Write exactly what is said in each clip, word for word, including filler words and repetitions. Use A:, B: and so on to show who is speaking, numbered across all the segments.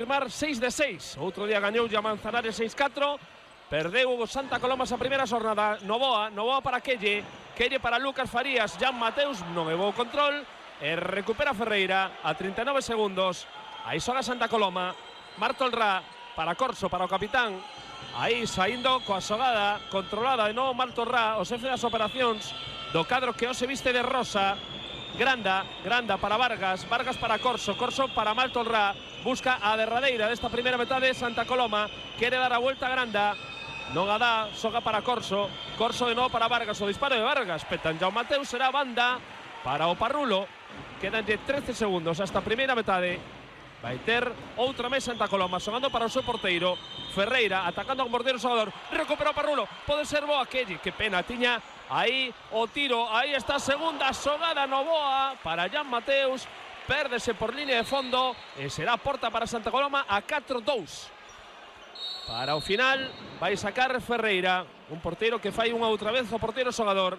A: Firmar seis de seis. Outro día gañou a Manzanares seis catro. Perdeu o Santa Coloma esa primeira xornada. Novoa, Novoa para Quelle. Quelle para Lucas Farías. Jan Mateus non levou o control. E recupera Ferreira a trinta e nove segundos. Aí xoga Santa Coloma. Martolrá para Corso, para o capitán. Aí saindo coa xogada controlada de novo Martolrá, o xefe das operacións do cadro que hoxe viste de rosa. Granda, Granda para Vargas, Vargas para Corso, Corso para Martolrá. Busca a derradeira desta primeira metade. Santa Coloma quere dar a volta a Granda, non a dá, xoga para Corso, Corso de novo para Vargas, o disparo de Vargas, petan Jan Mateus, será banda para o Parrulo. Quedanlle trece segundos hasta a primeira metade. Vai ter outra vez Santa Coloma xogando para o seu porteiro Ferreira, atacando con mordeiro xogador. Recupera o Parrulo, pode ser boa Quelle, que pena, tiña aí o tiro. Aí está a segunda xogada Novoa para Jan Mateus, pérdese por línea de fondo e será porta para Santa Coloma a catro dous. Para o final vai sacar Ferreira, un porteiro que fai unha outra vez o porteiro xogador.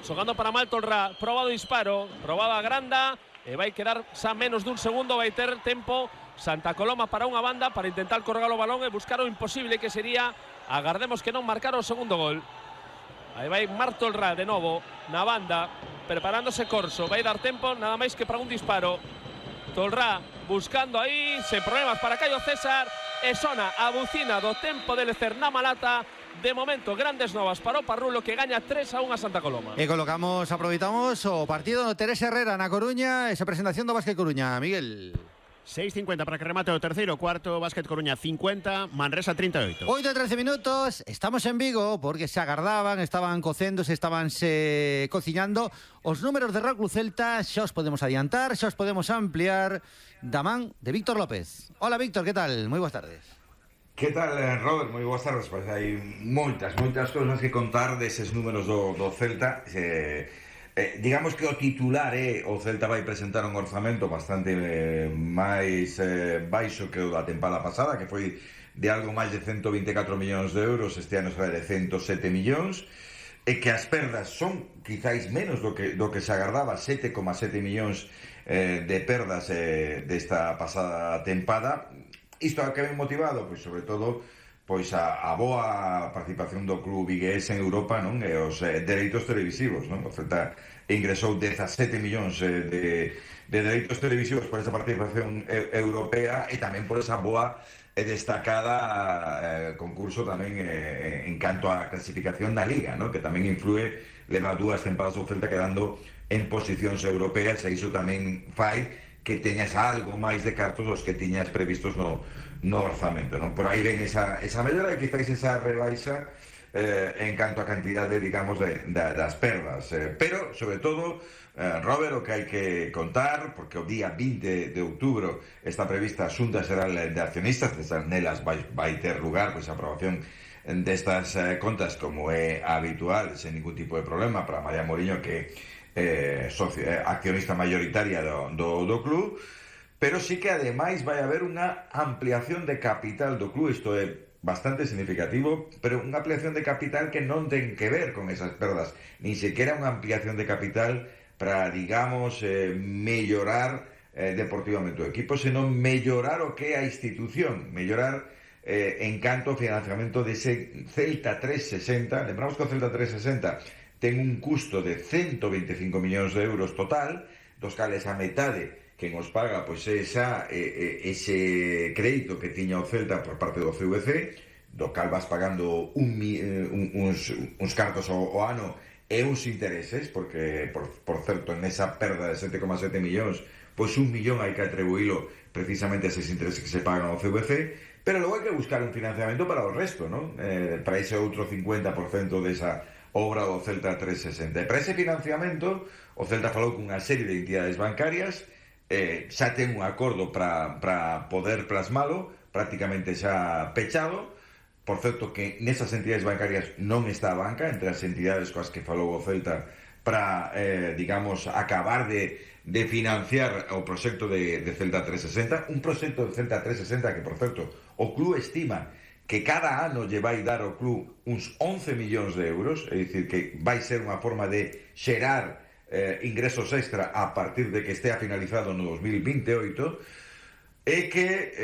A: Xogando para Martolrá, probado disparo, probada Granda. E vai quedar xa menos dun segundo, vai ter tempo Santa Coloma para unha banda, para intentar colgar o balón e buscar o imposible, que sería, agardemos que non marcar o segundo gol. Aí vai Martolrá de novo na banda, preparándose Corso, vai dar tempo nada máis que para un disparo. Tolrá buscando aí, sen problemas para Caio César, e sona a bucina do tempo de lecer na Malata. De momento, grandes novas para o Parrulo, que gaña tres a un a Santa Coloma.
B: E colocamos, aproveitamos o partido no Teresa Herrera na Coruña, esa presentación do Básquet Coruña, Miguel.
C: seis cincuenta para que remate o terceiro cuarto. Básquet Coruña cincuenta, Manresa trinta e oito.
B: oito e trece minutos, estamos en Vigo porque se agardaban, estaban cocéndose, estaban se cociñando os números de Real Club Celta. Xa os podemos adiantar, xa os podemos ampliar da man de Víctor López. Hola Víctor, que tal? Moi boas tardes.
D: Que tal, Robert? Moi boas tardes. Pois hai moitas, moitas cousas que contar deses números do, do Celta. Eh, eh, digamos que o titular é eh, o Celta vai presentar un orzamento bastante eh, máis eh, baixo que o da tempada pasada, que foi de algo máis de ciento vinte e catro millóns de euros. Este ano será de ciento sete millóns, e que as perdas son quizáis menos do que, do que se agardaba, sete coma sete millóns eh, de perdas eh, desta pasada tempada. Isto a que ven motivado, pois sobre todo pois a, a boa participación do club vigués en Europa, non? E os eh, dereitos televisivos, non? O Celta ingresou dezasete millóns eh, de, de dereitos televisivos por esa participación eh, europea, e tamén por esa boa e destacada eh, concurso tamén eh, en canto á clasificación da Liga, non? Que tamén influe, leva dúas tempadas o Celta quedando en posicións europeas, e iso tamén fai que teñas algo máis de cartos dos que tiñas previstos no, no orzamento, non? Por aí ven esa, esa mellora, e quizáis esa rebaixa eh, en canto a cantidade, digamos, de, de, das perdas. Eh, pero, sobre todo, eh, Robert, o que hai que contar, porque o día vinte de outubro está prevista a Xunta Xeral de Accionistas, nelas vai, vai ter lugar pois, a aprobación destas eh, contas, como é habitual, sen ningún tipo de problema, para María Moriño, que Eh, socio, eh, accionista mayoritaria do, do, do club, pero sí que ademais vai haber unha ampliación de capital do club. Isto é bastante significativo, pero unha ampliación de capital que non ten que ver con esas perdas, ni sequera unha ampliación de capital para, digamos, eh, mellorar eh, deportivamente o equipo, senón mellorar o que é a institución, mellorar eh, en canto ao financiamento dese Celta trescentos sesenta. Lembramos que o Celta trescentos sesenta ten un custo de ciento veinticinco millóns de euros total, dos cales a metade que nos paga pois esa, eh, ese crédito que tiña o Celta por parte do C V C, do cal vas pagando un, un, uns, uns cartos ao, ao ano e uns intereses, porque, por, por certo, nesa perda de sete coma sete millóns, pois un millón hai que atribuílo precisamente a eses intereses que se pagan ao C V C, pero logo hai que buscar un financiamento para o resto, non? Eh, para ese outro cincuenta por cento desa obra do Celta trescentos sesenta. E para ese financiamento, o Celta falou cunha serie de entidades bancarias, eh, xa ten un acordo para, para poder plasmalo, prácticamente xa pechado. Por certo, que nesas entidades bancarias non está a banca, entre as entidades coas que falou o Celta para, eh, digamos, acabar de, de financiar o proxecto de, de Celta trescentos sesenta, un proxecto de Celta trescentos sesenta que, por certo, o club estima que cada ano lle vai dar ao club uns once millóns de euros, é dicir, que vai ser unha forma de xerar eh, ingresos extra a partir de que estea finalizado no dos mil vinte e oito, e que